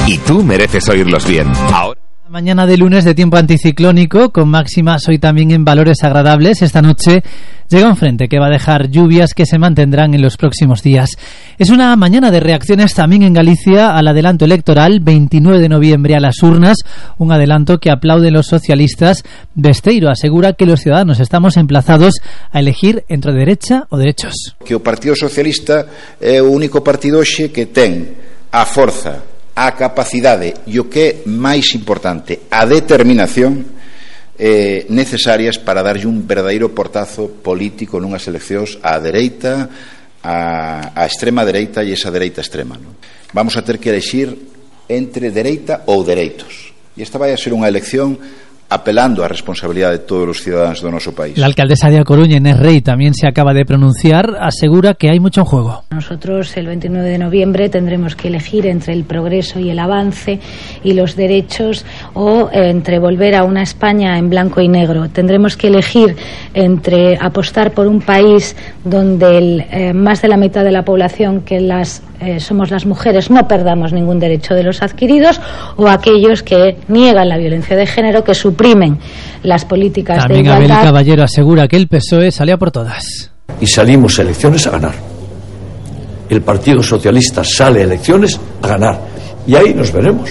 Y tú mereces oírlos bien. Ahora... Mañana de lunes de tiempo anticiclónico, con máximas hoy también en valores agradables. Esta noche llega un frente que va a dejar lluvias que se mantendrán en los próximos días. Es una mañana de reacciones también en Galicia al adelanto electoral, 29 de noviembre a las urnas, un adelanto que aplauden los socialistas. Besteiro asegura que los ciudadanos estamos emplazados a elegir entre derecha o derechos. Que o Partido Socialista é o único partido hoxe que ten a forza, a capacidade e o que é máis importante, a determinación necesarias para darlle un verdadeiro portazo político nunhas eleccións á dereita, a extrema dereita e esa dereita extrema, non? Vamos a ter que elegir entre dereita ou dereitos, e esta vai a ser unha elección apelando a responsabilidade de todos os ciudadanos do noso país. La alcaldesa de A Coruña, Inés Rey, también se acaba de pronunciar, asegura que hay mucho en juego. Nosotros el 29 de noviembre tendremos que elegir entre el progreso y el avance y los derechos, o entre volver a una España en blanco y negro. Tendremos que elegir entre apostar por un país donde más de la mitad de la población que somos las mujeres no perdamos ningún derecho de los adquiridos, o aquellos que niegan la violencia de género, que suprimen las políticas también de igualdad. Abel Caballero asegura que el PSOE sale a por todas. Y salimos a elecciones a ganar. El Partido Socialista sale a elecciones a ganar. Y ahí nos veremos.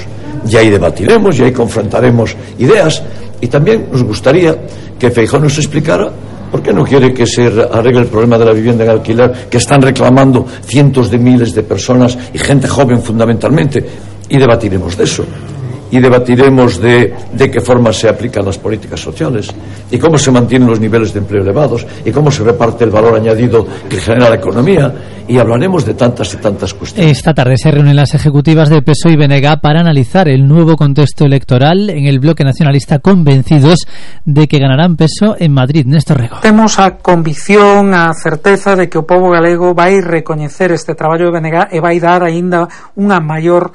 Y ahí debatiremos, y ahí confrontaremos ideas. Y también nos gustaría que Feijóo nos explicara por qué no quiere que se arregle el problema de la vivienda en alquiler, que están reclamando cientos de miles de personas y gente joven fundamentalmente. Y debatiremos de eso. Y debatiremos de qué forma se aplican las políticas sociales y cómo se mantienen los niveles de empleo elevados y cómo se reparte el valor añadido que genera la economía, y hablaremos de tantas y tantas cuestiones. Esta tarde se reúnen las ejecutivas de PSOE y BNG para analizar el nuevo contexto electoral en el bloque nacionalista, convencidos de que ganarán peso en Madrid. Néstor Rego. Temos a convicción, a certeza de que o pobo galego vai recoñecer este traballo de BNG e vai dar aínda unha maior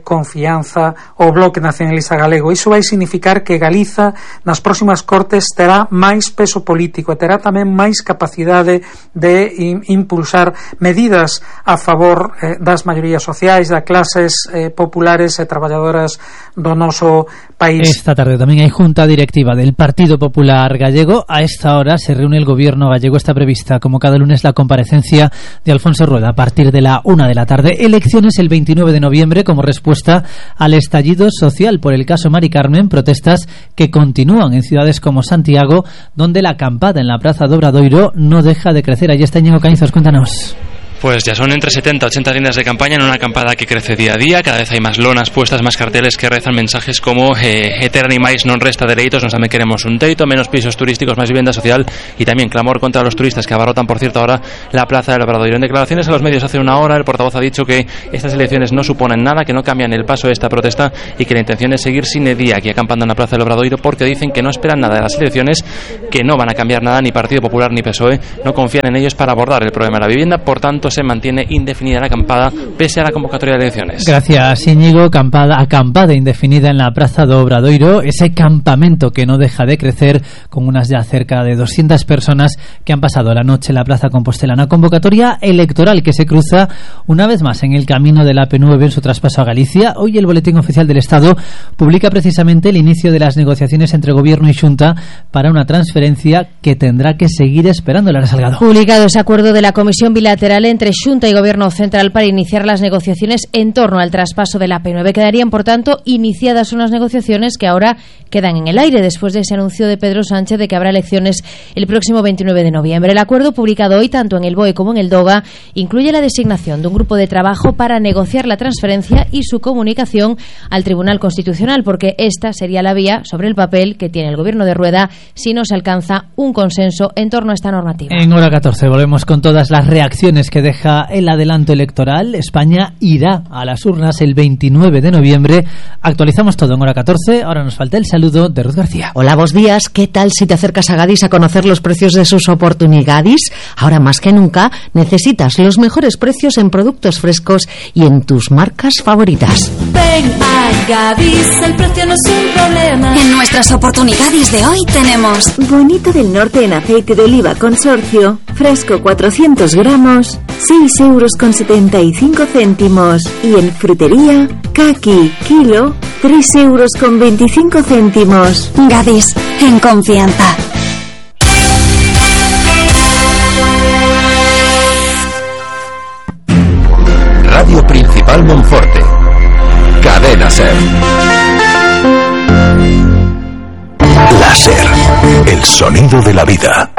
confianza ao bloque nacionalista galego. Iso vai significar que Galiza nas próximas cortes terá máis peso político e terá tamén máis capacidade de impulsar medidas a favor das maiorías sociais, das clases populares e traballadoras do noso país. Esta tarde tamén hai junta directiva del Partido Popular Gallego. A esta hora se reúne el gobierno gallego. Está prevista, como cada lunes, la comparecencia de Alfonso Rueda a partir de la 1 de la tarde. Elecciones el 29 de noviembre como respuesta al estallido social por el caso Mari Carmen, protestas que continúan en ciudades como Santiago, donde la acampada en la Praza do Obradoiro no deja de crecer. Allí está Íñigo Cañizos, cuéntanos. Pues ya son entre 70 y 80 líneas de campaña en una acampada que crece día a día. Cada vez hay más lonas puestas, más carteles que rezan mensajes como Eterni máis non resta dereitos, nos tamén queremos un teito, menos pisos turísticos, más vivienda social, y también clamor contra los turistas que abarrotan, por cierto, ahora la Plaza del Obradoiro. En declaraciones a los medios hace una hora, el portavoz ha dicho que estas elecciones no suponen nada, que no cambian el paso de esta protesta y que la intención es seguir sin día aquí acampando en la Plaza del Obradoiro, porque dicen que no esperan nada de las elecciones, que no van a cambiar nada, ni Partido Popular ni PSOE no confían en ellos para abordar el problema de la vivienda. Por tanto, se mantiene indefinida la acampada pese a la convocatoria de elecciones. Gracias, Íñigo. Acampada indefinida en la Praza do Obradoiro, ese campamento que no deja de crecer, con unas ya cerca de 200 personas que han pasado la noche en la Plaza Compostelana. Convocatoria electoral que se cruza una vez más en el camino de la P9 en su traspaso a Galicia. Hoy el Boletín Oficial del Estado publica precisamente el inicio de las negociaciones entre Gobierno y Xunta para una transferencia que tendrá que seguir esperando. Lara Salgado. Publicado ese acuerdo de la Comisión Bilateral entre Xunta y Gobierno Central para iniciar las negociaciones en torno al traspaso de la P9. Quedarían, por tanto, iniciadas unas negociaciones que ahora quedan en el aire después de ese anuncio de Pedro Sánchez de que habrá elecciones el próximo 29 de noviembre. El acuerdo, publicado hoy tanto en el BOE como en el DOGA, incluye la designación de un grupo de trabajo para negociar la transferencia y su comunicación al Tribunal Constitucional, porque esta sería la vía sobre el papel que tiene el Gobierno de Rueda si no se alcanza un consenso en torno a esta normativa. En hora 14 volvemos con todas las reacciones que deja el adelanto electoral. España irá a las urnas el 29 de noviembre. Actualizamos todo en hora 14. Ahora nos falta el saludo de Ruth García. Hola, buenos días. ¿Qué tal si te acercas a Gadis a conocer los precios de sus oportunidades? Ahora más que nunca necesitas los mejores precios en productos frescos y en tus marcas favoritas. Ven a Gadis, el precio no es un problema. En nuestras oportunidades de hoy tenemos bonito del norte en aceite de oliva consorcio, fresco 400 gramos, 6,75 €. Y en frutería, caqui, kilo, 3,25 €. Gadis, en confianza. Radio Principal Monforte. Cadena SER. La SER, el sonido de la vida.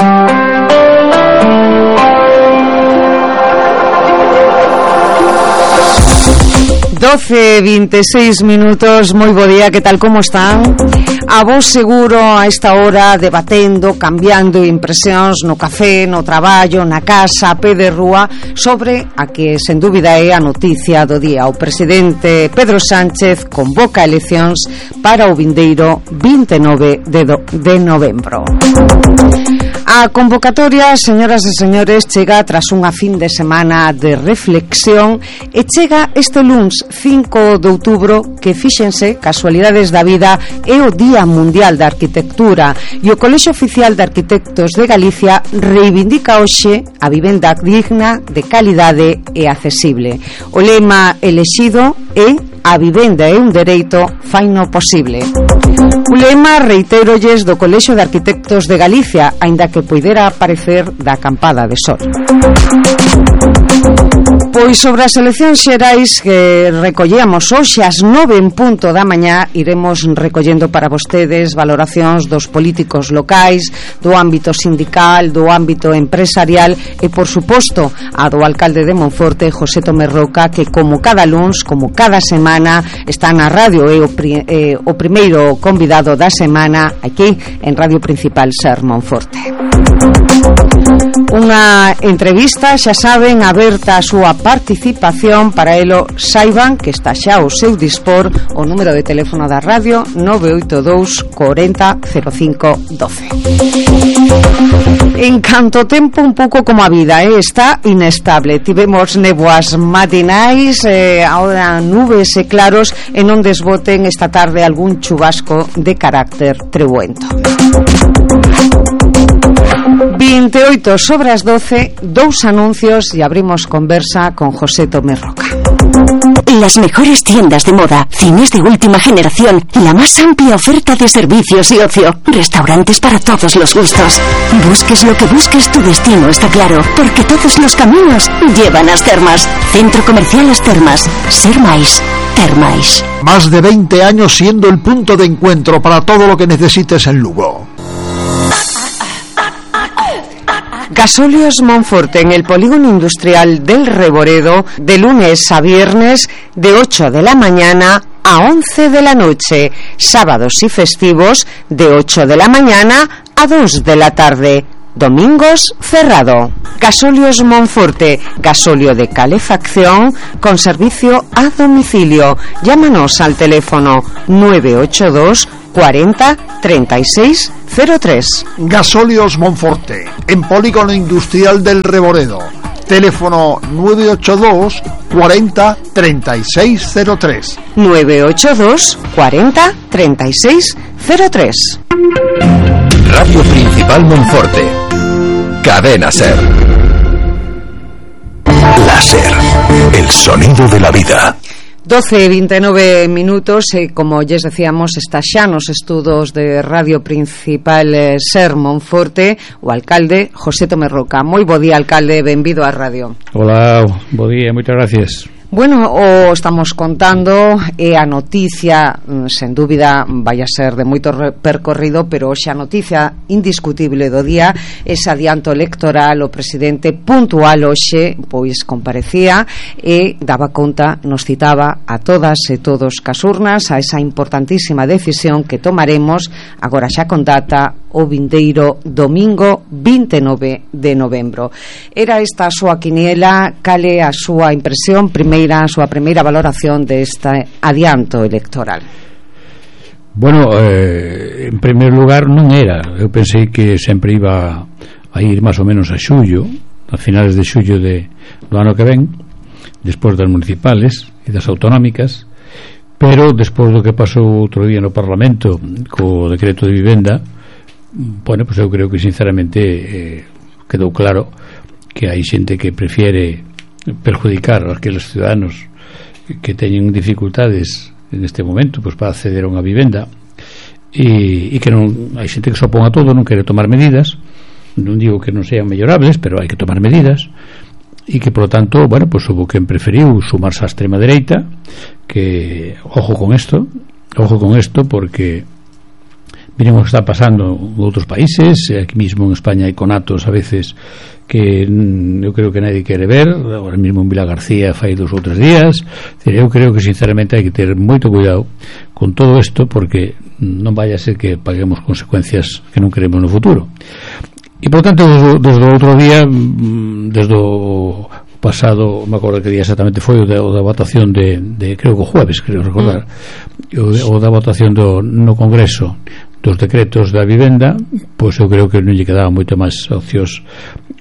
12:26 minutos, moi bo día, que tal, como están? A vos seguro a esta hora debatendo, cambiando impresións no café, no traballo, na casa, a pé de rúa, sobre a que sen dúbida é a noticia do día. O presidente Pedro Sánchez convoca eleccións para o vindeiro 29 de novembro. A convocatoria, señoras e señores, chega tras unha fin de semana de reflexión e chega este luns 5 de outubro, que fíxense, casualidades da vida, é o Día Mundial da Arquitectura, e o Colexio Oficial de Arquitectos de Galicia reivindica hoxe a vivenda digna, de calidade e accesible. O lema elexido é "A vivenda é un dereito, faino posible". O lema, reitérolles, do Colexio de Arquitectos de Galicia, aínda que poidera parecer da acampada de sol. Pois sobre as eleccións xerais que recollíamos hoxe ás 9:00 da mañá, iremos recollendo para vostedes valoracións dos políticos locais, do ámbito sindical, do ámbito empresarial e, por suposto, a do alcalde de Monforte, José Tomé Roca, que como cada luns, como cada semana, está na radio, é o primeiro convidado da semana aquí en Radio Principal SER Monforte. Unha entrevista, xa saben, aberta a súa participación. Para elo, saiban que está xa ao seu dispor o número de teléfono da radio 982 40 05 12. En canto tempo, un pouco como a vida, está inestable. Tivemos néboas matinais, ahora nubes e claros, e non desboten esta tarde algún chubasco de carácter trebuento. 8:28, dous anuncios y abrimos conversa con José Tomé Roca. Las mejores tiendas de moda, cines de última generación, la más amplia oferta de servicios y ocio, restaurantes para todos los gustos. Busques lo que busques, tu destino está claro, porque todos los caminos llevan a As Termas. Centro Comercial As Termas. Ser máis, ter máis. Más de 20 años siendo el punto de encuentro para todo lo que necesites en Lugo. Gasóleos Monforte, en el polígono industrial del Reboredo, de lunes a viernes, de 8 de la mañana a 11 de la noche, sábados y festivos, de 8 de la mañana a 2 de la tarde. Domingos cerrado. Gasóleos Monforte, gasóleo de calefacción con servicio a domicilio. Llámanos al teléfono 982 40 36 03. Gasóleos Monforte, en polígono industrial del Reboredo. Teléfono 982 40 36 03. 982 40 36 03. Radio Principal Monforte. Cadena SER. La SER, el sonido de la vida. 12:29 minutos, como lles decíamos, está xa nos estudos de Radio Principal SER Monforte o alcalde José Tomé Roca. Moi bo día, alcalde, benvido á radio. Hola, bo día, moitas gracias. Bueno, o estamos contando é a noticia, sen dúbida vai a ser de moito percorrido, pero hoxe a noticia indiscutible do día, ese adianto electoral. O presidente puntual hoxe pois comparecía e daba conta, nos citaba a todas e todos cas urnas a esa importantísima decisión que tomaremos agora xa con data o vindeiro domingo 29 de novembro. Era esta a súa quiniela, cale a súa impresión primeira, a súa primeira valoración deste adianto electoral? Bueno, en primeiro lugar non era, eu pensei que sempre iba a ir máis ou menos a xullo, a finales de xullo do ano que ven, despois das municipales e das autonómicas, pero despois do que pasou outro día no Parlamento co decreto de vivenda, bueno, pues eu creo que sinceramente quedou claro que hai xente que prefiere perjudicar a aqueles ciudadanos que teñen dificultades neste momento pues para acceder a unha vivenda e que non hai xente que se opón a todo, non quere tomar medidas. Non digo que non sean mellorables, pero hai que tomar medidas, e que, por lo tanto, bueno, pues hubo quen preferiu sumarse á extrema dereita, que, ojo con esto, porque miren o que está pasando en outros países, aquí mismo en España hai conatos a veces que eu creo que nadie quere ver, ahora mismo en Vila García fai 2 ou 3 días. Eu creo que sinceramente hai que ter moito cuidado con todo isto, porque non vaya a ser que paguemos consecuencias que non queremos no futuro. E por tanto, desde o outro día, desde o pasado, me acordo que día exactamente foi o da votación de creo que o jueves, creo recordar, o da votación no Congreso dos decretos da vivenda, pois eu creo que non lle quedaba moito máis opcións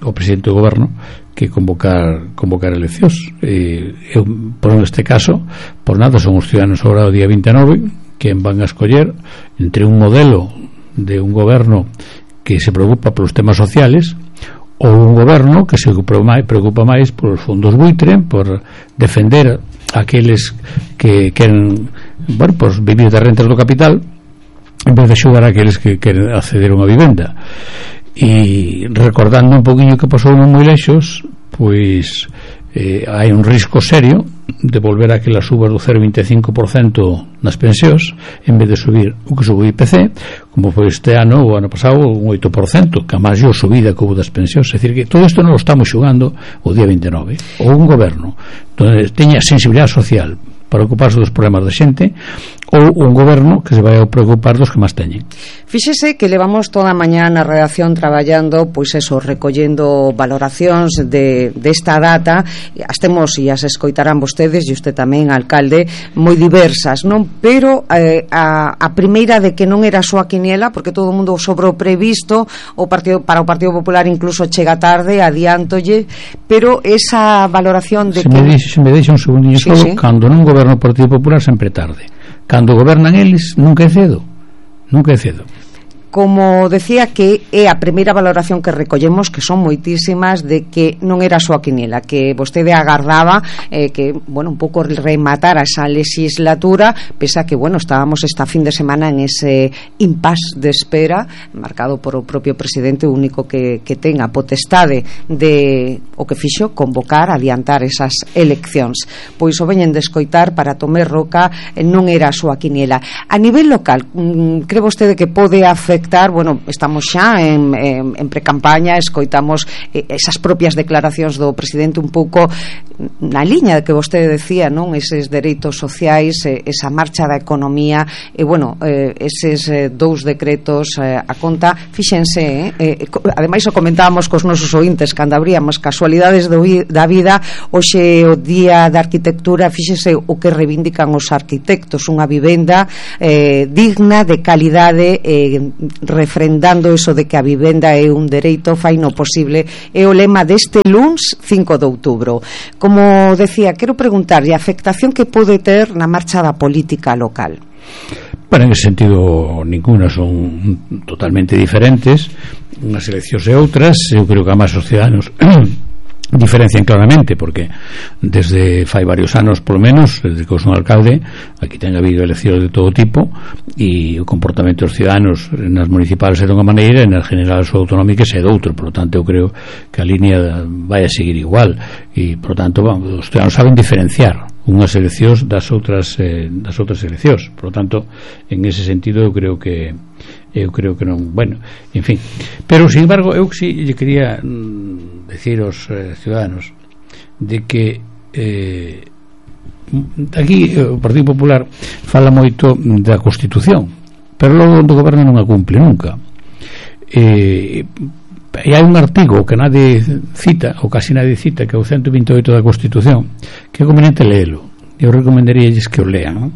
ao presidente do goberno que convocar eleccións. Eu, por este caso, por nada son os ciudadanos agora o día 29 que van a escoller entre un modelo de un goberno que se preocupa polos temas sociales ou un goberno que se preocupa máis polos fondos buitre, por defender aqueles que queren, bueno, pues vivir das rentas do capital en vez de axudar a aqueles que queren acceder a unha vivenda. E recordando un poquinho que pasou non moi lexos, pois hai un risco serio de volver a aquelas subas do 0,25% nas pensións en vez de subir o que subiu o IPC, como foi este ano ou ano pasado un 8%, que a máis a subida que houve das pensións. É dicir, que todo isto non lo estamos xugando o día 29. Ou un goberno donde teña sensibilidade social para ocuparse dos problemas da xente, ou un goberno que se vai a preocupar dos que máis teñen. Fíxese que levamos toda a mañá na redacción traballando, pois eso, recollendo valoracións desta data, as temos e as escoitarán vostedes e usted tamén, alcalde, moi diversas, non? Pero a primeira de que non era a súa quiniela, porque todo o mundo sobre o previsto, para o Partido Popular incluso chega tarde, adiántolle, pero esa valoración de se me deixa un segundinho só, cando non goberna o Partido Popular sempre tarde, cando gobernan eles nunca é cedo. Como decía, que é a primeira valoración que recollemos, que son moitísimas, de que non era a súa quiniela, que vostede agardaba que, bueno, un pouco rematar esa legislatura, pese a que, bueno, estábamos esta fin de semana en ese impasse de espera, marcado por o propio presidente, o único que ten a potestade de o que fixo, convocar, adiantar esas eleccións. Pois o veñen de escoitar, para Tomé Roca non era a súa quiniela. A nivel local, cree vostede que pode afectar? Bueno, estamos xa en precampaña, escoitamos esas propias declaracións do presidente un pouco na liña que vostede decía, non? Eses dereitos sociais, esa marcha da economía, e bueno, eses 2 decretos a conta, fíxense, ademais o comentábamos cos nosos ointes cando abríamos casualidades da vida, hoxe o día da arquitectura, fíxense o que reivindican os arquitectos, unha vivenda digna, de calidade, refrendando eso de que a vivenda é un dereito, fai no posible, é o lema deste luns 5 de outubro. Como decía, quero preguntarlle a afectación que pode ter na marcha da política local. Bueno, en ese sentido ninguna, son totalmente diferentes unhas eleccións e outras. Eu creo que a máis os ciudadanos diferencian claramente, porque desde fai varios anos, polo menos, desde que eu son alcalde, aquí ten habido eleccións de todo tipo, e o comportamento dos ciudadanos nas municipales é de unha maneira e nas generales ou autonómicas é de outro. Por lo tanto, eu creo que a línea vai a seguir igual, e por lo tanto os ciudadanos saben diferenciar unhas eleccións das outras eleccións. Por lo tanto, en ese sentido eu creo que non, bueno, en fin. Pero, sin embargo, eu sí lle quería decir aos ciudadanos de que aquí o Partido Popular fala moito da Constitución, pero logo do goberno non a cumple nunca. E hai un artigo que nadie cita, ou casi nadie cita, que é o 128 da Constitución, que é conveniente leelo. Eu recomendaríalles que o lean, non?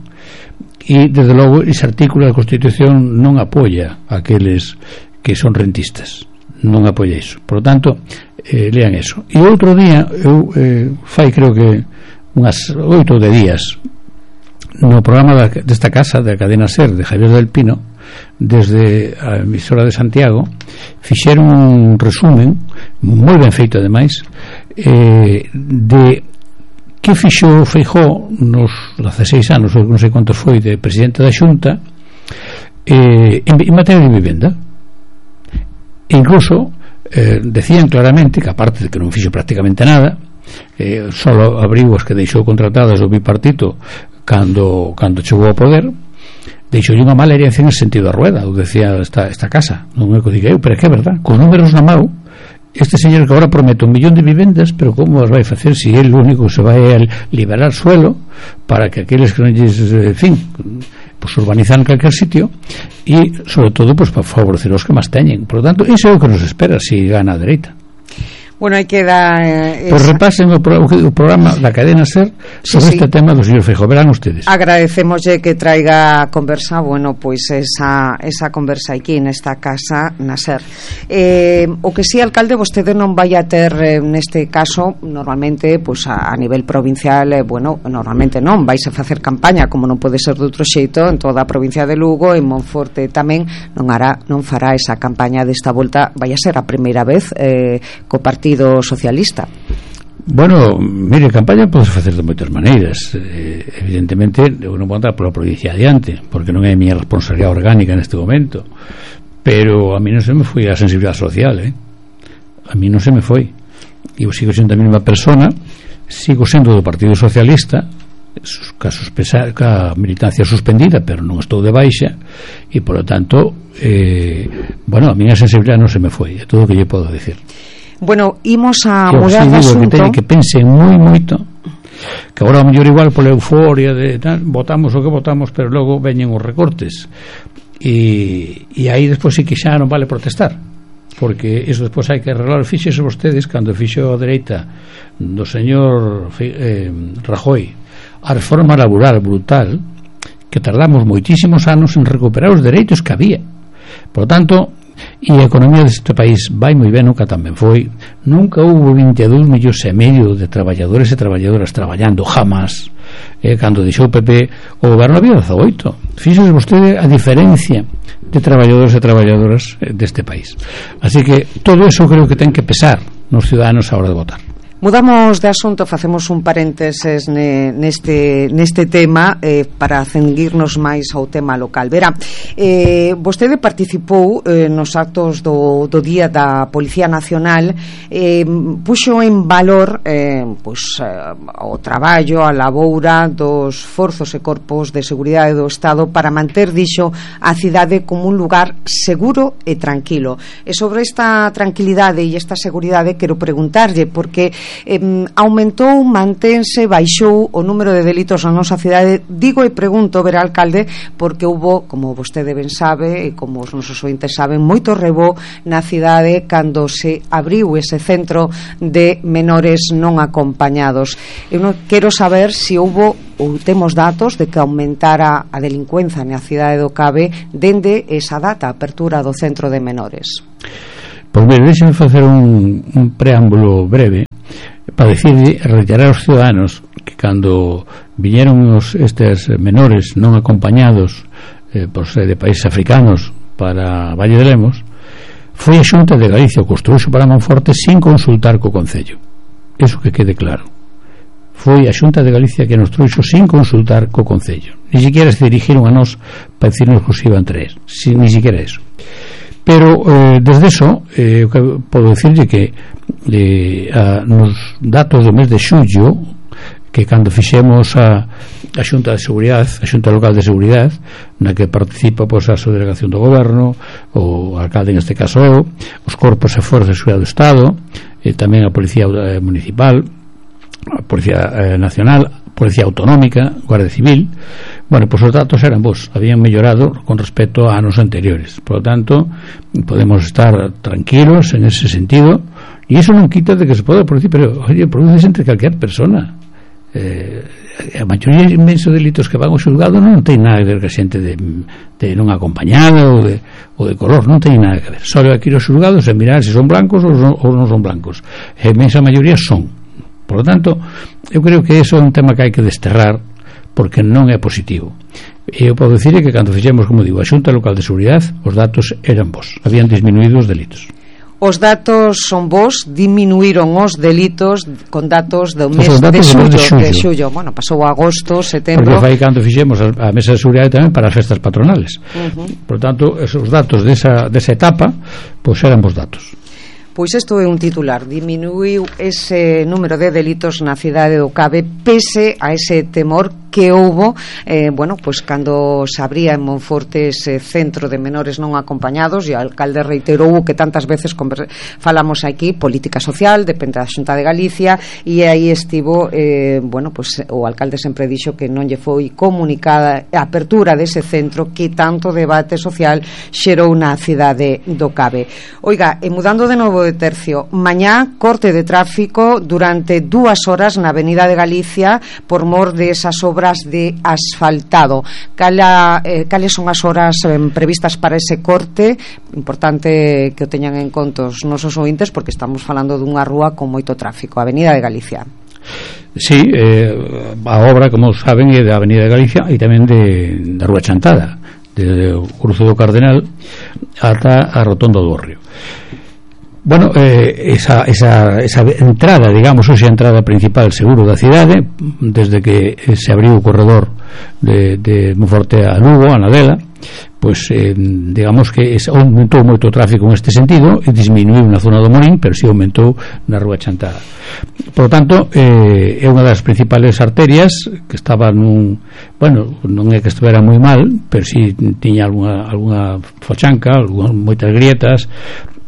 E desde logo ese artículo da Constitución non apoia aqueles que son rentistas, non apoia iso. Por lo tanto, lean eso. E outro día eu fai creo que unhas 8 de días no programa desta casa, da cadena SER, de Javier del Pino, desde a emisora de Santiago, fixeron un resumen moi ben feito, ademais, de que fixo Feijóo nos 16 anos, ou non sei quantos foi, de presidente da Xunta, en materia de vivenda. E incluso decían claramente que, aparte de que non fixo prácticamente nada, solo abriu as que deixou contratadas o bipartito cando chegou ao poder, deixou unha mala herencia en sentido da rueda, o decía esta casa, non é que diga eu, pero é que é verdad, con números na mão, este señor que agora promete 1 millón de vivendas, pero como as vai facer se el único se vai a liberar suelo para que aqueles que non lles, en fin, pues urbanizan en calquer sitio, e sobre todo pues para favorecer os que máis teñen. Por lo tanto, iso é o que nos espera se gana a dereita. Bueno, hai que dar... Pues repasen o programa da cadena SER sobre este tema do señor Feijóo. Verán ustedes. Agradecemoslle que traiga a conversa, bueno, pois esa conversa aquí nesta casa na SER. O que si, alcalde, vostede non vai a ter neste caso, normalmente, pois a nivel provincial, bueno, normalmente non, vais a facer campaña, como non pode ser de outro xeito, en toda a provincia de Lugo, en Monforte tamén, non fará esa campaña desta volta, vai a ser a primeira vez co Partido Socialista. Bueno, mire, campaña pode facer de moitas maneiras. Evidentemente eu non vou andar pola provincia adiante, porque non é a miña responsabilidade orgánica neste momento, pero a mí non se me foi a sensibilidade social, a mí non se me foi. Eu sigo sendo a mesma persona, sigo sendo do Partido Socialista, ca militancia suspendida, pero non estou de baixa, e por lo tanto bueno, a miña sensibilidade non se me foi, é todo o que lle podo decir. Bueno, imos a mudar de asunto. Que teñen que pensen moito, que agora a mellor igual pola euforia de tal, votamos o que votamos, pero logo veñen os recortes e aí despois sí que xa non vale protestar, porque iso despois hai que arreglar. Fíxense vostedes cando fixo a dereita do señor Rajoy a reforma laboral brutal, que tardamos moitísimos anos en recuperar os dereitos que había. Por lo tanto, e a economía deste país vai moi ben, nunca tamén foi, nunca houve 22 millóns e medio de traballadores e traballadoras traballando, jamás. Cando deixou o PP o goberno había 18. Fíxose vostede a diferencia de traballadores e traballadoras deste país. Así que todo eso creo que ten que pesar nos ciudadanos a hora de votar. Mudamos de asunto, facemos un parénteses neste tema para ceñirnos máis ao tema local. Verá, vostede participou nos actos do Día da Policía Nacional, puxo en valor o traballo, a laboura dos forzos e corpos de seguridade do Estado para manter, dixo, a cidade como un lugar seguro e tranquilo. E sobre esta tranquilidade e esta seguridade quero preguntarlle, porque aumentou, mantense, baixou o número de delitos na nosa cidade. Digo e pregunto, verá, alcalde, porque hubo, como vostede ben sabe e como os nosos ointes saben, moito rebó na cidade cando se abriu ese centro de menores non acompañados. Eu non quero saber se houbo ou temos datos de que aumentara a delincuencia na cidade do Cabe dende esa data, a apertura do centro de menores. Pois mire, deixen facer un preámbulo breve para reiterar aos ciudadanos que cando viñeron estes menores non acompañados por ser de países africanos para Valle de Lemos, foi a Xunta de Galicia o construxo para Monforte sin consultar co Concello. Eso que quede claro. Foi a Xunta de Galicia que nos trouxo sin consultar co Concello. Ni siquiera se dirigiron a nós para decirnos que os iban traer, ni siquiera eso. Pero desde eso podo dicirlle que nos datos do mes de xullo, que cando fixemos a Xunta de Seguridade, a Xunta Local de Seguridade, na que participa pois a subdelegación do goberno, o alcalde neste caso eu, os corpos e forzas de seguridade do Estado, e tamén a Policía Municipal, a Policía Nacional, Policía Autonómica, Guardia Civil. Bueno, pois os datos eran bons, habían mellorado con respecto a anos anteriores. Por lo tanto, podemos estar tranquilos en ese sentido, e iso non quita de que se pode producir, pero, oye, produce entre calquer persona. A maioría inmenso de delitos que van ao xulgado non ten nada que ver que a xente de non acompañada ou de color, non ten nada que ver. Só aquí os xulgados e mirar se son blancos ou non son blancos. A inmensa maioría son. Por lo tanto, eu creo que eso é un tema que hai que desterrar, porque non é positivo. E eu podo dicir que cando fixemos, como digo, a Xunta Local de Seguridade, os datos eran bons, habían disminuído os delitos. Os datos son bons, diminuíron os delitos con datos do mes de xullo. Bueno, pasou agosto, setembro. Porque fai cando fixemos a mesa de seguridade tamén para as festas patronales. Por tanto, esos datos desa etapa, pois eran bons datos. Pois isto é un titular. Diminuiu ese número de delitos na cidade do Cabe pese a ese temor que houbo, bueno, pues cando se abría en Monforte ese centro de menores non acompañados, e o alcalde reiterou que tantas veces falamos aquí, política social, depende da Xunta de Galicia, e aí estivo, bueno, pues o alcalde sempre dixo que non lle foi comunicada a apertura dese centro que tanto debate social xerou na cidade do Cabe. Oiga, e mudando de novo de tercio, mañá corte de tráfico durante 2 horas na Avenida de Galicia por mor de esas obras de asfaltado. Cales son as horas previstas para ese corte? Importante que o teñan en conta os nosos ointes, porque estamos falando dunha rúa con moito tráfico, a Avenida de Galicia. Sí, a obra, como saben, é da Avenida de Galicia e tamén da Rúa Chantada, desde o cruce do Cardenal ata a Rotonda do Río. Bueno, esa entrada, digamos, esa entrada principal seguro da cidade, desde que se abriu o corredor de Monforte a Lugo, a Nadela, pois digamos que aumentou moito o tráfico neste sentido e disminuiu na zona do Morín, pero si aumentou na Rúa Chantada. Por lo tanto, é unha das principales arterias que estaba bueno, non é que estivera moi mal, pero si tiña algunha fochanca, moitas grietas,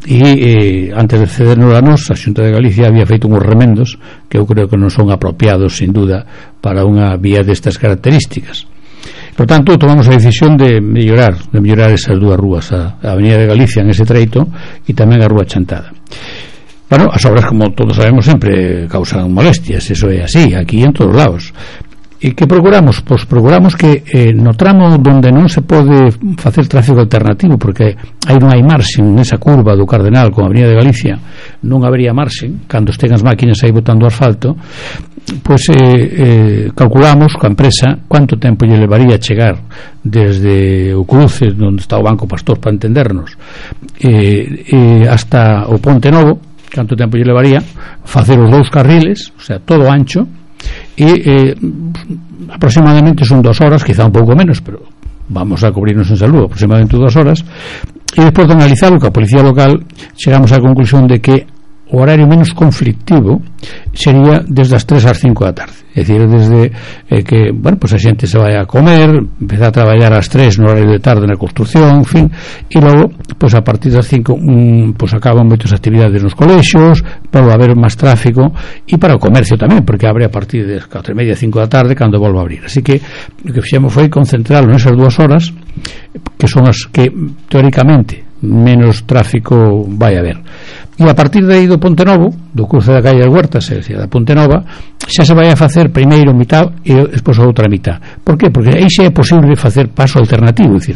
e antes de cedernos a nos, a Xunta de Galicia había feito uns remendos que eu creo que non son apropiados, sin duda, para unha vía destas características. Por tanto, tomamos a decisión de mellorar esas 2 rúas, a Avenida de Galicia en ese treito e tamén a Rúa Chantada. Bueno, as obras, como todos sabemos, sempre causan molestias, eso é así, aquí en todos lados. E que procuramos? Pois procuramos que no tramo donde non se pode facer tráfico alternativo, porque aí non hai marxen nesa curva do Cardenal con a Avenida de Galicia, non habería marxen cando estén as máquinas aí botando asfalto, pois calculamos coa empresa quanto tempo lle levaría chegar desde o cruce onde está o Banco Pastor, para entendernos, hasta o Ponte Novo, canto tempo lle levaría facer os 2 carriles, o sea, todo ancho, e aproximadamente son 2 horas, quizá un pouco menos, pero vamos a cubrirnos en salud, aproximadamente 2 horas, e despois de analizarlo coa policía local chegamos á conclusión de que o horario menos conflictivo sería desde as 3 ás 5 da tarde, é dicir, desde que, bueno, pues a xente se vai a comer, empeza a traballar ás 3 no horario de tarde na construción, en fin, e logo, pues a partir das 5 pues acaban moitas actividades nos colexios, para haber máis tráfico, e para o comercio tamén, porque abre a partir das 4:30, 5 da tarde cando volva a abrir. Así que o que fixemos foi concentrarlo nesas 2 horas, que son as que teóricamente menos tráfico vai haber. E a partir de aí do Ponte Novo, do cruce da calle das Huertas, é dicir, da Ponte Nova, xa se vai a facer primeiro mitad e despois a outra mitad. Por qué? Porque aí xa é posible facer paso alternativo, é dicir,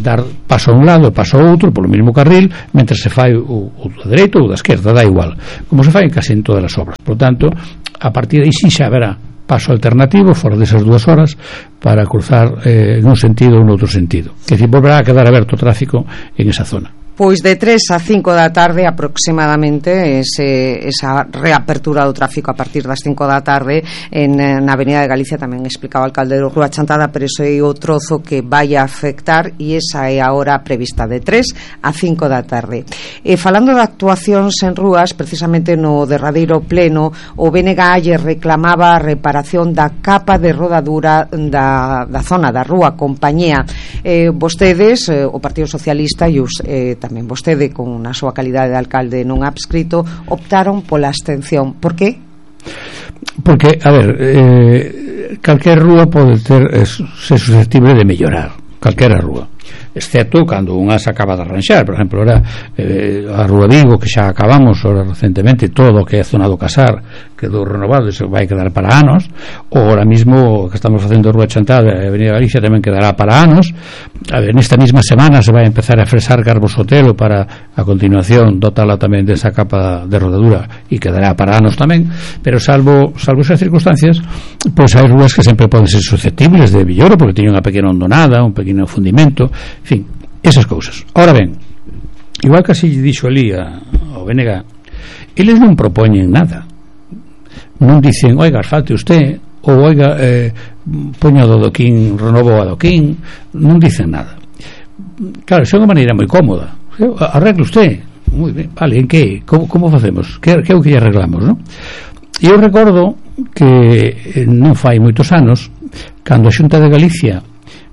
dar paso a un lado e paso a outro polo mesmo carril, mentre se fai o da dereita ou da esquerda, dá igual, como se fai casi en todas as obras. Por tanto, a partir de aí sí xa haberá paso alternativo fora desas 2 horas para cruzar en un sentido ou en outro sentido, que decir, volverá a quedar aberto o tráfico en esa zona. Pois de 3 a 5 da tarde aproximadamente esa reapertura do tráfico a partir das 5 da tarde na Avenida de Galicia, tamén explicaba o alcalde de Rúa Chantada, pero ese é o trozo que vai a afectar e esa é a hora prevista de 3 a 5 da tarde. Falando de actuacións en rúas, precisamente no derradeiro pleno o BNG lle reclamaba a reparación da capa de rodadura da zona da Rúa Compañía. Vostedes, o Partido Socialista e os tamén vostede, con a súa calidade de alcalde non adscrito, optaron pola abstención. Por qué? Porque, a ver, calquera rúa pode ser susceptible de mellorar, calquera rúa. excepto cando unha se acaba de arranxar. Por exemplo, ahora a Rúa Vigo, que xa acabamos ahora recentemente, todo o que é zona do Casar quedou renovado e se vai quedar para anos, ou ahora mismo que estamos facendo Rúa Chantada e Avenida Galicia tamén quedará para anos. Nesta mesma semana se vai empezar a fresar Garbo Sotelo para a continuación dotala tamén desa capa de rodadura e quedará para anos tamén, pero salvo esas circunstancias, pois hai rúas que sempre poden ser susceptibles de villoro porque teñen unha pequena hondonada, un pequeno fundimento, en fin, esas cousas. Ahora ben, igual que así dixo ali ao BNG, eles non propoñen nada, non dicen, oiga, falte usted, ou oiga, poño do adoquín, renovo o adoquín, non dicen nada. Claro, é unha maneira moi cómoda, arregle usted, moi ben, vale, en que, como facemos, que é o que arreglamos, non? E eu recordo que non fai moitos anos, cando a Xunta de Galicia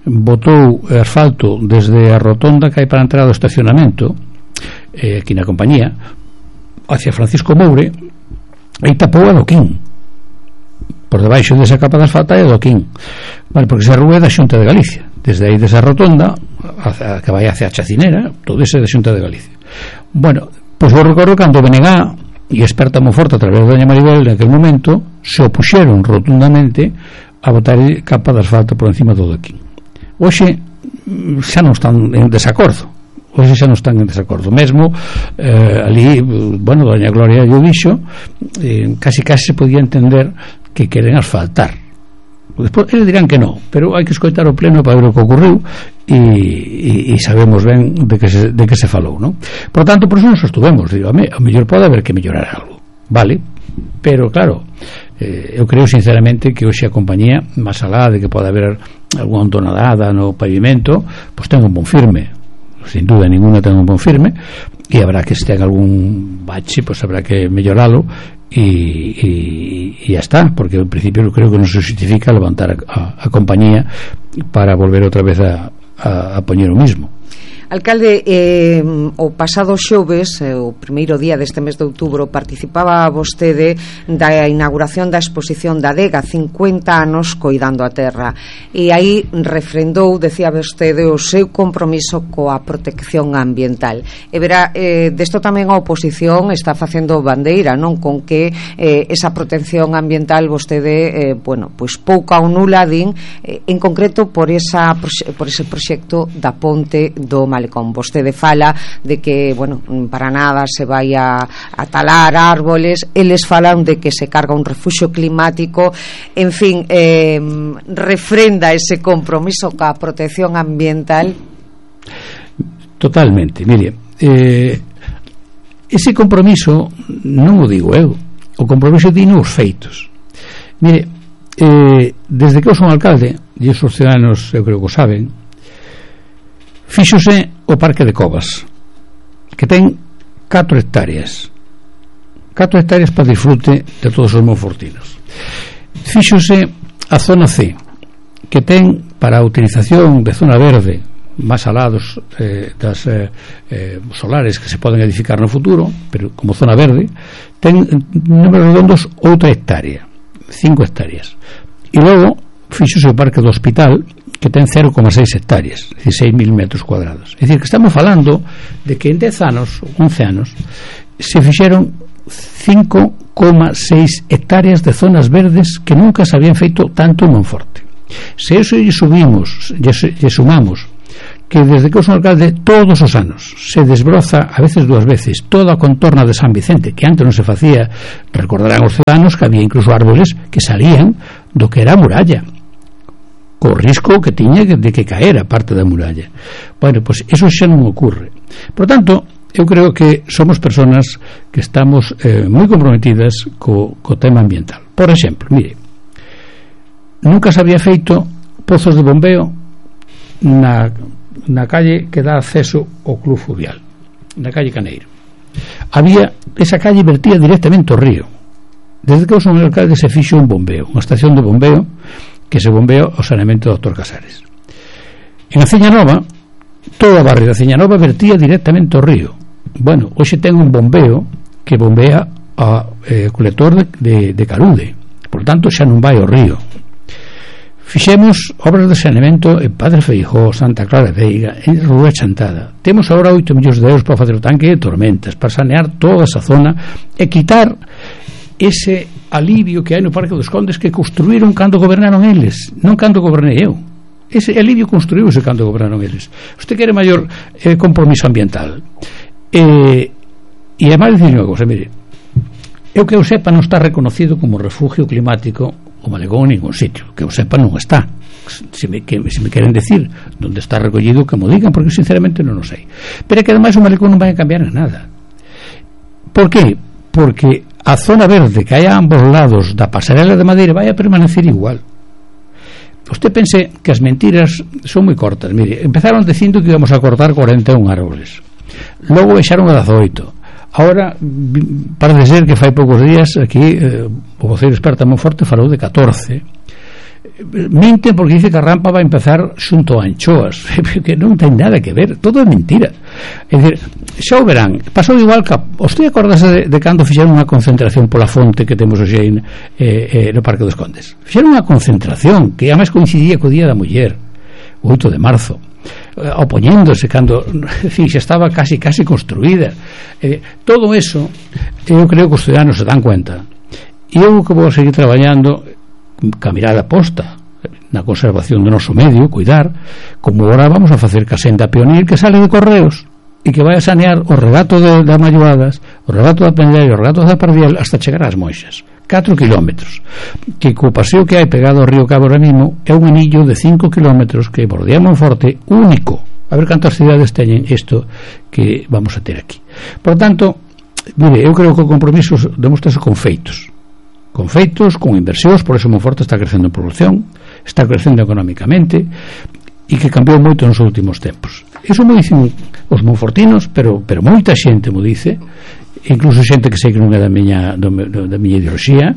botou asfalto desde a rotonda que hai para entrar ao estacionamento aquí na compañía hacia Francisco Moure, aí tapou a adoquín por debaixo desa capa de asfalto hai adoquín, vale, porque esa rúa é da Xunta de Galicia, desde aí desa rotonda que vai hacia a Chacinera, todo ese é da Xunta de Galicia. Bueno, pois eu recordo cando BNG e experta moi forte a través de doña Maribel en aquel momento se opuxeron rotundamente a botar capa de asfalto por encima do adoquín. Hoxe xa non están en desacordo, mesmo ali, bueno, doña Gloria yo dixo, casi se podía entender que queren asfaltar. Despois eles dirán que non, pero hai que escoitar o pleno para ver o que ocorreu e sabemos ben de que se falou, non? Por tanto, por eso nos sostuvemos, digo, a mellor pode haber que mellorar algo, vale? Pero claro, eu creo sinceramente que hoxe a compañía, máis alá de que pode haber algunha hondonada no pavimento, pois ten un bon firme, sin duda ninguna ten un bon firme, e habrá que se ten algún bache, pois habrá que melloralo e ya está, porque en principio eu creo que non se justifica levantar a compañía para volver outra vez a poñer o mismo. Alcalde, o pasado xoves, o primeiro día deste mes de outubro, participaba vostede da inauguración da exposición da adega 50 anos coidando a terra, e aí refrendou, decía vostede, o seu compromiso coa protección ambiental. E verá, desto tamén a oposición está facendo bandeira, non, con que esa protección ambiental vostede, bueno, pois pouca ou nula din, en concreto por ese proxecto da ponte do Malecón. Vostede fala de que, bueno, para nada se vai a talar árboles, eles falan de que se carga un refuxio climático, en fin, refrenda ese compromiso ca protección ambiental. Totalmente, mire, ese compromiso non o digo eu, o compromiso dino os feitos. Mire, desde que eu son alcalde, e os ciudadanos eu creo que o saben, fíxose o Parque de Covas, que ten 4 hectáreas para disfrute de todos os monfortinos. Fíxose a zona C, que ten para a utilización de zona verde máis alados das solares que se poden edificar no futuro, pero como zona verde, ten números redondos outra hectárea, 5 hectáreas. E logo fíxose o Parque do Hospital, que ten 0,6 hectáreas, é dicir, 6.000 metros cuadrados. É dicir, que estamos falando de que en 10 anos, 11 anos, se fixeron 5,6 hectáreas de zonas verdes que nunca se habían feito tanto en Monforte. Se eso lle sumamos que desde que eu son alcalde todos os anos se desbroza, a veces 2 veces, toda a contorna de San Vicente, que antes non se facía, recordarán os ciudadanos que había incluso árboles que salían do que era a muralla, co risco que tiña de que caera parte da muralla. Bueno, pois eso xa non ocorre. Por tanto, eu creo que somos personas que estamos moi comprometidas co tema ambiental. Por exemplo, mire, nunca se había feito pozos de bombeo na calle que dá acceso ao Club Fluvial, na calle Caneiro. Esa calle vertía directamente ao río. Desde que eu son alcalde se fixo un bombeo, unha estación de bombeo que se bombea o saneamento do Dr. Casares. En a Ciña Nova, toda a barrio da Ciña Nova vertía directamente ao río. Bueno, hoxe ten un bombeo que bombea o colector de Carude, por tanto xa non vai ao río. Fixemos obras de saneamento en Padre Feijóo, Santa Clara de Veiga, en Rúa Chantada. Temos agora 8 millóns de euros para facer o tanque de Tormentas, para sanear toda esa zona e quitar ese alivio que hai no Parque dos Condes que construíron cando gobernaron eles, non cando gobernei eu. Ese alivio construíuse cando gobernaron eles. Usted quere maior compromiso ambiental. E ademais dicir unha cosa, mire, eu que eu sepa non está reconocido como refugio climático o Malecón en ningún sitio, que eu sepa non está. Se me queren decir onde está recollido, que mo digan, porque sinceramente non o sei. Pero é que ademais o Malecón non vai a cambiar en nada. Por qué? Porque a zona verde que hai a ambos lados da pasarela de Madeira vai a permanecer igual. Usted pense que as mentiras son moi cortas. Mire, empezaron dicindo que íbamos a cortar 41 árboles, logo baixaron a 18. Ahora parece ser que fai poucos días aquí o voceiro experto Monforte falou de 14. Minten porque dice que a rampa vai empezar xunto a Anchoas, que non ten nada que ver, todo é mentira. É dicir, xa o verán, pasou igual que usted acordase de cando fixeron unha concentración pola fonte que temos hoxe no Parque dos Condes. Fixeron unha concentración que además coincidía co Día da Muller, o 8 de marzo, opoñéndose cando, en fin, xa estaba casi construída. Todo eso eu creo que os ciudadanos se dan cuenta, e eu que vou seguir traballando ca mirada posta na conservación do noso medio, cuidar, como agora vamos a facer ca senda Pionir que sale de Correos e que vai a sanear o regato de Malloadas, o regato da Pendeira, o regato da Pardiel hasta chegar ás Moixas, 4 kilómetros, que co paseo que hai pegado ao río Cabo ahora mismo é un anillo de 5 kilómetros que bordea Monforte, único. A ver cantas cidades teñen isto que vamos a ter aquí. Por tanto, mire, eu creo que o compromiso demostrase con feitos, con inversións. Por eso Monforte está crecendo en población, está crecendo económicamente, e que cambiou moito nos últimos tempos. Iso mo dicen os monfortinos, pero moita xente mo dice, incluso xente que sei que non é da miña ideoloxía.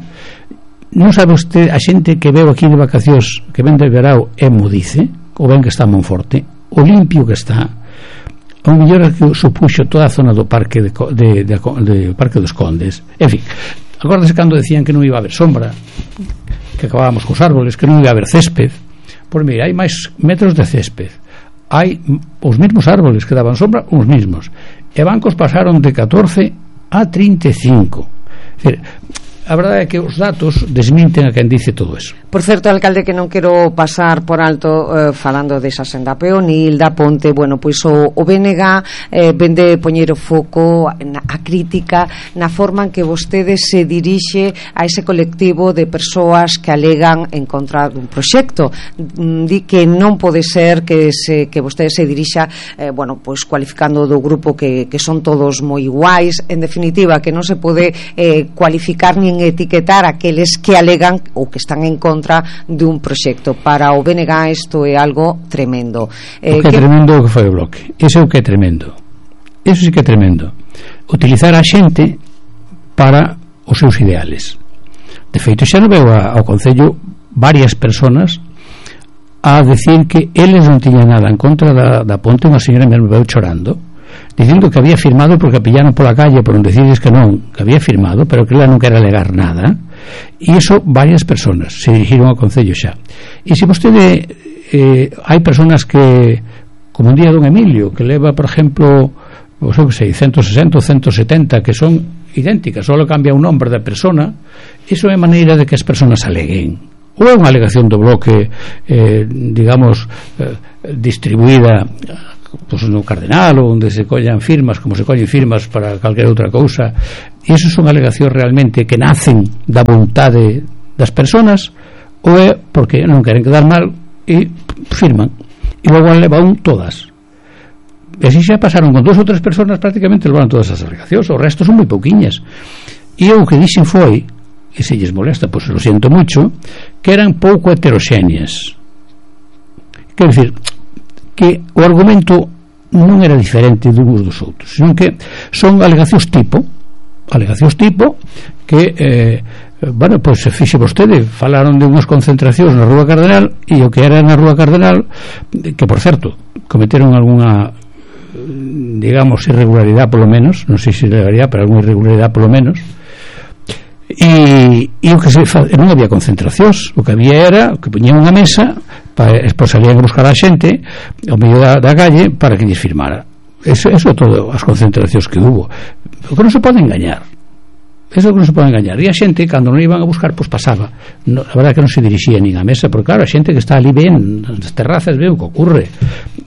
Non sabe usted, a xente que veo aquí de vacacións, que ven de verao, mo dice, ou ven que está en Monforte, o limpio que está, o mellor que supuxo toda a zona do Parque de Parque dos Condes. En fin, acórdase cando decían que non iba a haber sombra, que acabábamos cos árboles, que non iba a haber césped. Pois mira, hai máis metros de césped, hai os mesmos árboles que daban sombra, os mesmos, e bancos pasaron de 14 a 35. É dicir, a verdade é que os datos desminten a quen dice todo eso. Por certo, alcalde, que non quero pasar por alto falando desa senda Peonil, da ponte, bueno, pois o BNG vende poñer o foco a crítica na forma en que vostede se dirixe a ese colectivo de persoas que alegan en contra dun proxecto. Di que non pode ser que vostede se dirixa bueno, pois cualificando do grupo que son todos moi iguais, en definitiva, que non se pode cualificar nin etiquetar aqueles que alegan ou que están en contra dun proxecto. Para o BNG isto é algo tremendo. O que é tremendo o que foi o Bloque. Iso é o que é tremendo. Iso sí que é tremendo. Utilizar a xente para os seus ideales. De feito, xa non veo ao Concello varias personas a decir que eles non tiñan nada en contra da ponte. Unha señora me veu chorando, dicindo que había firmado porque a pillaron pola calle por non decides que non, que había firmado, pero que ela non quere alegar nada. E iso varias personas se dirigiron ao Concello xa. E se vostede hai personas que, como un día don Emilio, que leva, por exemplo, o que sei, 160 ou 170 que son idénticas, só cambia un nombre da persona, iso é maneira de que as personas aleguen. Ou é unha alegación do Bloque digamos distribuída pues no Cardenal, ou onde se collan firmas como se collen firmas para calquera outra cousa, e iso son alegacións realmente que nacen da vontade das persoas, ou é porque non queren quedar mal e firman, e logo levan todas. E así xa pasaron con 2 ou 3 persoas, prácticamente levaron todas as alegacións, o resto son moi pouquiñas. E o que dixen foi, e se lles molesta, pois lo siento mucho, que eran pouco heteroxéneas. Quero dicir que o argumento non era diferente de uns dos outros, senón que son alegacións tipo que bueno, pois se fixe vostede, falaron de unhas concentracións na Rúa Cardenal, e o que era na Rúa Cardenal, que por certo cometeron algunha digamos irregularidade polo menos, non sei se levaría, pero algunha irregularidade polo menos, e o que non había concentracións, o que había era que poñían unha mesa para despois salían a buscar a xente ao medio da calle para que lles firmara. Eso todo as concentracións que hubo. O que non se pode engañar, eso que non se pode engañar. E a xente, cando non iban a buscar, pois pasaba. No, a verdade que non se dirixía nin a mesa, porque claro, a xente que está ali ven nas terrazas, ve o que ocurre,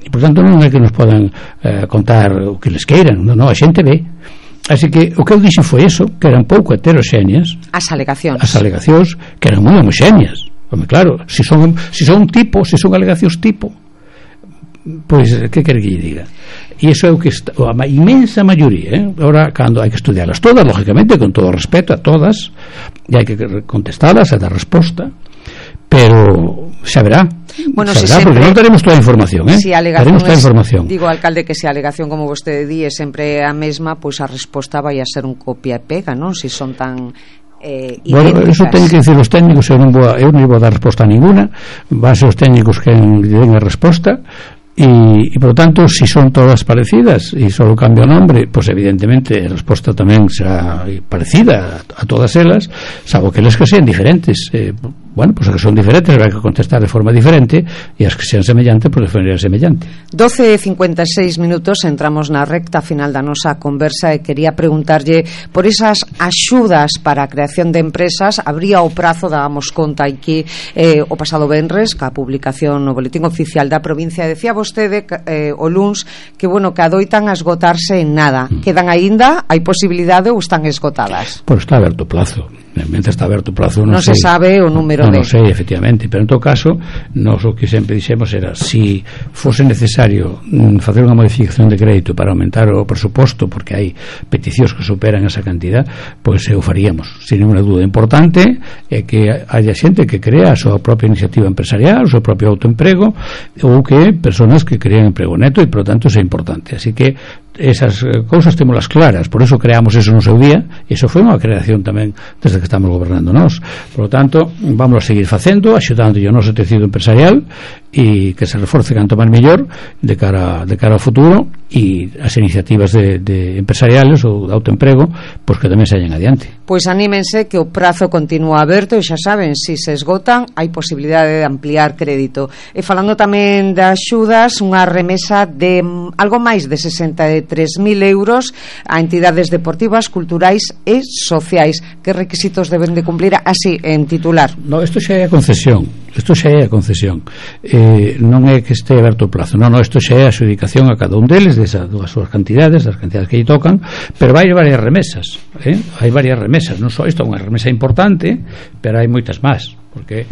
e por tanto non é que nos podan contar o que les queiran, non, a xente ve. Así que o que eu dixen foi eso, que eran pouco heteroxéneas as alegacións, que eran moi homogéneas. Home, claro, se son alegacións tipo, pois que quere que lle diga? E iso é o que a inmensa maioría, ahora cando hai que estudiarlas todas, lógicamente con todo o respeto a todas, e hai que contestalas e dar resposta, pero xa verá. Bueno, si porque non teremos toda a información, si teremos toda a información. Digo, alcalde, que se a alegación, como vostede di, é sempre a mesma, pois a resposta vai a ser un copia e pega, non? Si son tan bueno, eso teñen que dicir os técnicos. Eu non vou a dar resposta a ninguna, van ser os técnicos que den a resposta. E por lo tanto, si son todas parecidas e só cambia o nombre, pois evidentemente a resposta tamén será parecida a todas elas, salvo que eles que sean diferentes. Bueno, pois as que son diferentes habrá que contestar de forma diferente, e as que sean semellantes, pois de forma semellante. 12:56 minutos, entramos na recta final da nosa conversa e quería preguntarlle por esas axudas para a creación de empresas. Habría o prazo, dábamos conta aquí o pasado venres, ca publicación no Boletín Oficial da provincia. Decía vostede o luns que, bueno, que adoitan a esgotarse en nada. Quedan aínda, hai posibilidade ou están esgotadas? Pois está aberto o plazo. Realmente está aberto o plazo, non se sabe o número non sei, efectivamente, pero en todo caso nós o que sempre dixemos era, si fose necesario facer unha modificación de crédito para aumentar o presuposto porque hai peticións que superan esa cantidad, pois o faríamos sin ninguna dúda. Importante é que haya xente que crea a súa propia iniciativa empresarial, o seu propio autoemprego, ou que personas que crean emprego neto, e por lo tanto é importante. Así que esas cousas témolas claras, por eso creamos eso no seu día, e iso foi unha creación tamén desde que estamos gobernando nós. Por lo tanto, vamos a seguir facendo, axudando o noso tecido empresarial, e que se reforce canto máis mellor de cara ao futuro, e as iniciativas de empresariales ou de autoemprego, pois que tamén saen adiante. Pois anímense que o prazo continúa aberto, e xa saben, se se esgotan hai posibilidade de ampliar crédito. E falando tamén de axudas, unha remesa de algo máis de 63.000 euros a entidades deportivas, culturais e sociais. Que requisitos deben de cumplir así, en titular? No, isto xa é a concesión. Non é que este aberto o plazo, non, isto xa é a adjudicación a cada un deles das súas cantidades, das cantidades que lle tocan, pero vai varias remesas, hai varias remesas, non só isto é unha remesa importante, pero hai moitas máis, porque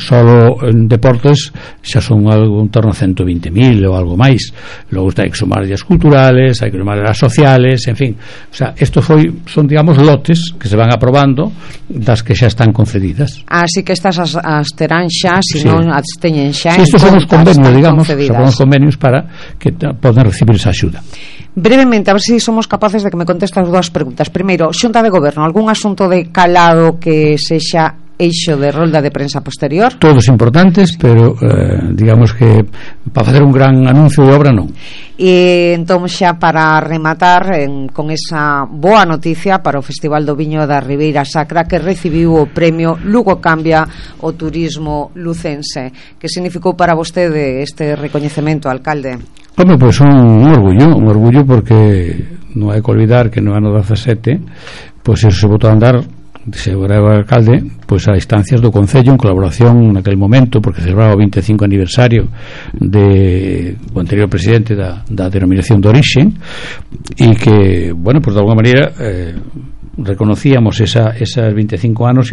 solo en deportes xa son algo en torno a 120.000 ou algo máis. Logo hai que sumar as culturales, hai que sumar as sociales, en fin, o sea, isto son, digamos, lotes que se van aprobando das que xa están concedidas. Así que estas as terán xa, se non as teñen xa. Sí, estos son os convenios, digamos, son os convenios para que poden recibir esa axuda. Brevemente, a ver se somos capaces de que me conteste as dúas preguntas. Primeiro, Xunta de Goberno, algún asunto de calado que sexa eixo de rolda de prensa posterior? Todos importantes, pero digamos que para facer un gran anuncio de obra non. E entón, xa para rematar con esa boa noticia para o Festival do Viño da Ribeira Sacra, que recibiu o premio Lugo Cambia o Turismo Lucense. Que significou para vostede este recoñecemento, alcalde? Home, pois un orgullo porque non hai que olvidar que no ano 17 pois eso se botou a andar, se era o alcalde, pois a instancias do Concello, en colaboración naquele momento, porque celebraba o 25 aniversario do anterior presidente da denominación de orixe, e que, bueno, pois de alguma maneira reconocíamos esas 25 anos